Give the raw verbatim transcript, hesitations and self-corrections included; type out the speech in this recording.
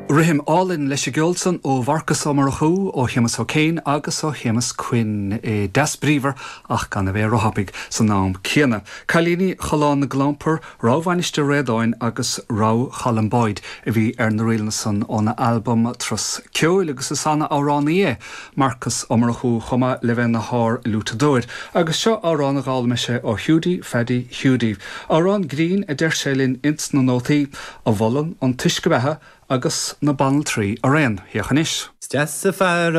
Rithim álainn leis an gceol san ó Mharcas Ó Murchú ó Shéamus Ó Céin agus ó Shéamus Quinn é deas bríomhar ach gan a bheith róthapaidh san am céanna. Cailíní Choileán na gClampar, Rogha Mhainistir Réadáin agus Rogha Cholm Boyd a bhí ar na ríleanna san óna albam Turas Ceoil agus is an-amhránaí é Marcas Ó Murchú chomh maith le bheith ina shár-fhliútadóir, agus seo amhrán a d'fhoghlaim sé ó Hiúdaí Phaddy Hiúdaí. Amhrán grinn a deir sé linn ins na nótaí a mholann an t-uisce beatha agus na banaltraí araon. Féach anois. Deas fear